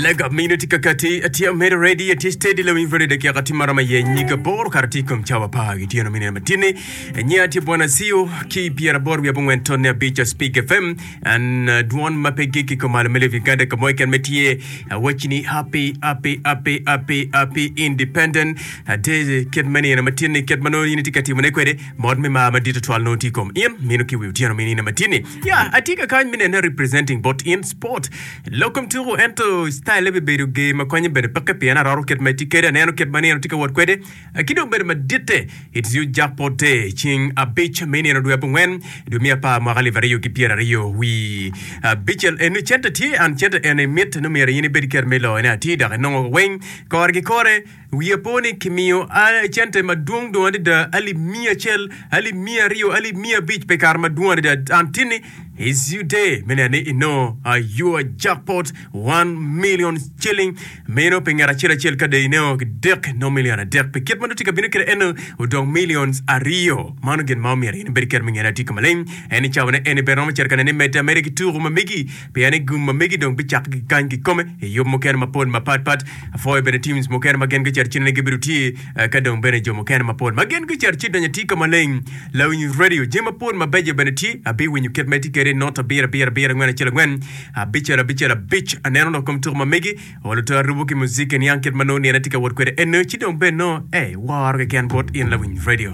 Lega mino tye ka kati atye amedo ready atye steady lawiny radio dakika tye maromo aye nyig aboro kare tye i kom cawa apar gityeno me nino matini nyiya tye bwana Acio ki 85 tonne abic Speak FM an uh, dwon ma pe gik i kom malo me Live Uganda ka mo keken me tye awacci ni happy happy happy happy happy independent day kit me nino matini kit ma nongo in itye ka timone kwede mot me mar madit tutwal nongo tye i kom in mino ki wi otyeno me nino matini ya atye ka kany me nene representing bot in sport Lok kom tuku ento style bibedo ger ma konye bene peke pien aroro kit ma etye kede aneno kit ma nino tye ka wot kwede ki dong bedo maditte. It's you jackpot day ceng abic me nino dwe abongwen dwe me apar mwaka alip aryo ki pyeraryo wi abicel eni cente tye and cente eni mitte ni myero in ibed kit me loyone atir dok inongo weng kore ki kore. Wiya po ni kimiyo cente madwong dong adada, alip miya acel, alip 200, alip 500 pi kare madwong adada. Antini, it's you day me neno ni inongo your jackpot, 1,000,000 shilling. Meno pi ngat acel acel ka dong inongo kidek, nongo million adek. Pi kit ma nongo tye ka bino kwede eno, odong millions aryo. Mano gin ma omyero in ibed kede me ngene atika ka maleng. En i cawane eni bene romo cito ka neno ni medde ameda ki tuku ma megi, pien ni gum ma megi dong bicakke ki kany kikome i yub mukene mapol mapat pat. Apwoyo bene teams mukene ma gin gucito ci nene gibedo tye ka dong bene jo mukene mapol ma gin gucito ci donyo atika maleng. Lawiny radio jami mapol mabeco bene tye. Abiwinyo kit ma itye kwede not abiro abiro abiro angwen acel angwen abicel abicel abic. Aneno lok kom tuko ma megi olo to arubo ki muziki niang kit ma nongo nino tye ka wot kwede eno ci dong bene nongo eh woro keken bot in lawiny radio.